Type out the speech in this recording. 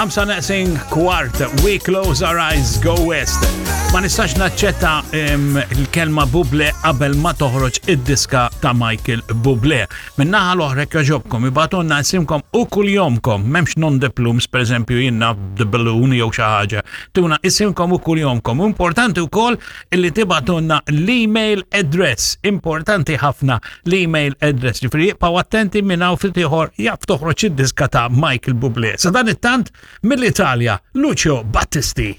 Il-ħamsa neqsin kwart, We Close Our Eyes, Go West. Ma nistax naċċetta il-kelma Bublé qabel ma toħroġ id-diska ta' Michael Bublé. Minnaħa l-oħra kjoġobkom, ibatunna isimkom u kuljomkom, memx non de plums, per eżempju, jinna the balloon jew xi ħaġa. Tuna isimkom u kuljomkom. Importanti wkoll illi tibatunna l-email address. Importanti ħafna l-email address. Ġifieri jibqgħu attenti minn hawn ftit ieħor jaf toħroġ id-diska ta' Michael Bublé. Sa dan it-tant mill-Italja, Lucio Battisti.